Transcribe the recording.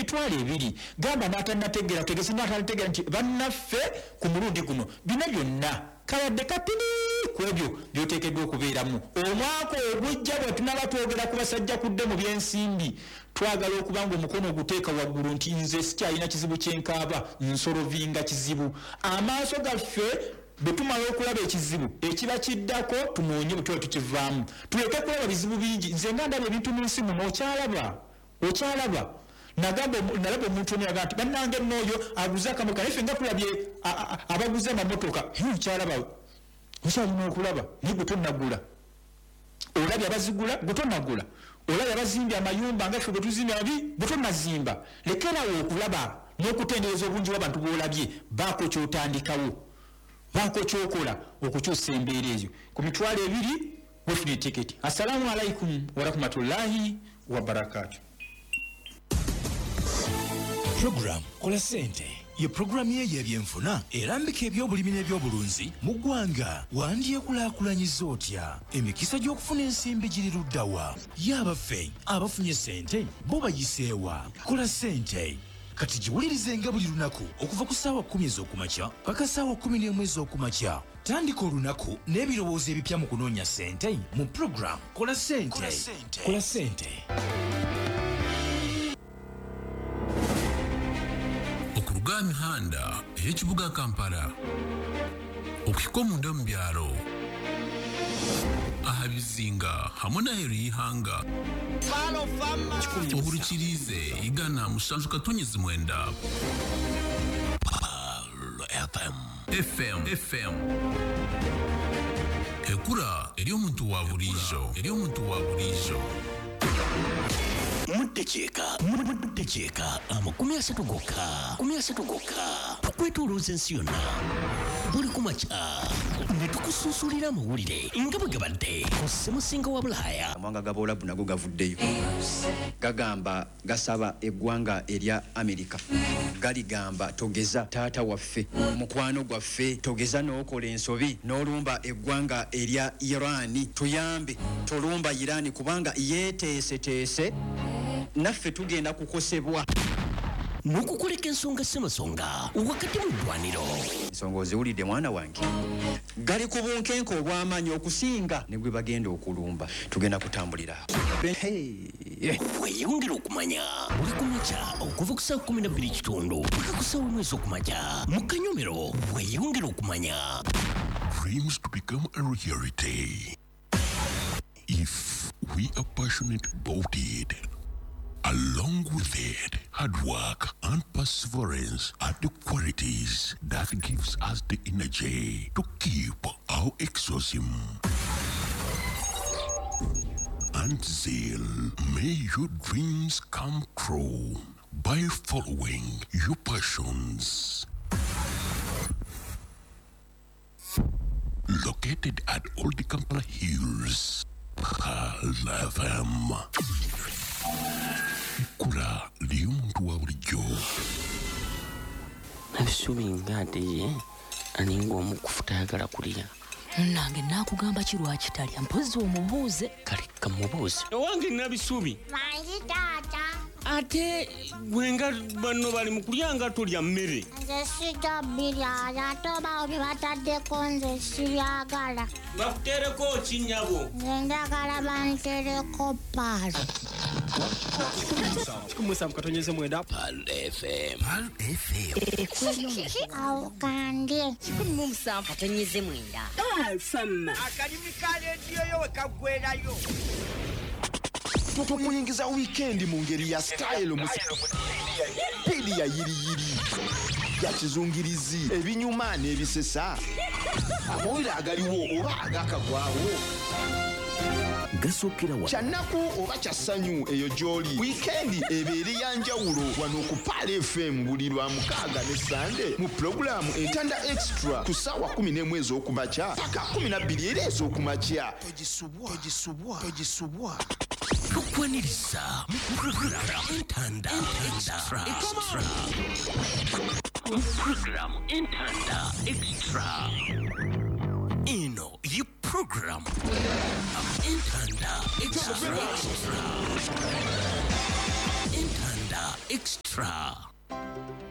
20,000 gamba n'atannategeera tegese n'atannategeera nti bannaffe ku mulundi guno bino byonna kabadde katini ku ebyo by'oteekeddwa okubeeramu. Omwaka ogujja bwe tunaba twogera ku basajja kudde mu byensimbi, twagala okuba nga omukono oguteeka waggulu nti nze sikyalina kizibu kyenkaaba, nsolovinga kizibu. Amaaso gaffe bwe tumala okulaba ekizibu ekiba kiddako tunoonye bwe tuba tukivaamu, tuleke kulaba bizibu bingi. Nze nga ndaba ebintu mu nsi muno, okyalaba nagamba nalaba omuntu omu yagamba nti bannange nno oyo aguze akamotoka, naye ffe nga tulabye abaguze amamotoka, okyalaba okyalina okulaba naye gwe tonnagula. Olabye abazigula gwe tonnagula, olabye abazimbye amayumba nga ffe bwe tuzimbye amabi gwe tonnazimba. Lekerawo okulaba n'okutendereza obungi bw'abantu bw'olabye, baako ky'otandikawo, baako ky'okola okukyusa embeera eyo. Ku 20,000 wefuna etiketi. Assalamu alaikum warahmatullahi wabarakatuh. Program Kola Ssente ye pulogulaamu ye y'ebyenfuna erambika ebyobulimi n'ebyobulunzi mu ggwanga. Wandyekulaakulanyiza otya? Emikisa gy'okufuna ensimbi giri ludda wa? Ye abaffe abafunye ssente bo bayiseewa? Kola Ssente kati giwulirizenga buli lunaku okuva ku ssaawa 10 ez'okumakya paka ssaawa 11 ez'okumakya. Tandika olunaku n'ebirowoozo ebipya mu kunoonya ssente mu pulogulaamu Kola Ssente. Kola Ssente. Okuruga aha mihanda ey'ekibuga Kampala okuhika omunda mu byaro, aha bizinga hamwe n'aheeru y'eihanga, ohurikiriize 107.9 Pearl FM. FM FM ekura eri omuntu wa buriijo, eri omuntu wa buriijo. Muddekyeka 30 gokka, 30 gokka, tukwetoolooza ensi yonna buli kumakya ne tukusunsulira amawulire nga bwe gabadde ku ssemusinga wa Bulaaya. Amawanga g'Abawalabu nago gavuddeyo gagamba gasaba eggwanga erya Amerika, galigamba togeza taata waffe, mukwano gwaffe, togeza n'okola ensobi n'olumba eggwanga erya Irani, tuyambe tolumba Irani kubanga yeeteeseteese naffe tugenda kukosebwa. N'okukuleka ensonga ssemasonga wakati mu ddwaniro. Ensonga oziwulidde mwana wange, gali ku bunkenke obw'amaanyi okusinga ne gwe bagenda okulumba. Tugenda kutambulira. Weeyongere okumanya buli kumakya okuva ku ssaawa 12:15 paka ku ssaawa 1 ez'okumakya mu kanyomero. Weeyongere okumanya. Dreams to become a reality if we are passionate about it. Along with it, hard work and perseverance are the qualities that gives us the energy to keep our exorcism and zeal. May your dreams come true by following your passions. Located at Old Kampala Hills, Pearl FM. Ekkula ly'omuntu wa bulijjo. Nabisubi nga ate ye aninga omukufu tayagala kulya. Nange naakugamba ki lwaki talya, mpozzi omubuuze. Kale kamubuuze. Owange Nabisubi. Mangi taata. Ate gwe nga banno bali mu kulya nga tolya mmere. Nze sijja birya, ate obawo bye bataddeko nze sibyagala. Bakuteereko ki nnyabo? Nze njagala bantereko paalo. 17.9 Pearl FM. Pearl FM. Awo kandye. 17.9. Pearl FM. Akalimi ka leediyo yo we kaggwerayo. Tukuyingiza weekend mu ngeri ya style, mu speed ya yiriyiri ya kizungirizi, ebinyuma n'ebisesa, amawulire agaliwo oba agakagwawo, gasookera wa kyannaku oba kya ssanyu, eyo gy'oli. Wiikendi ebeere ya njawulo wano ku Pearl FM buli lwa mukaaga ne Sande mu pulogulaamu Entanda Extra ku ssaawa 11 ez'okumakya paka 12 era ez'okumakya. Togisubwa, togisubwa, togisubwa. Tukwaniriza mu program Entanda Extra. Extra. Mu program Entanda Extra. Eno ye program Entanda Extra. Entanda Extra.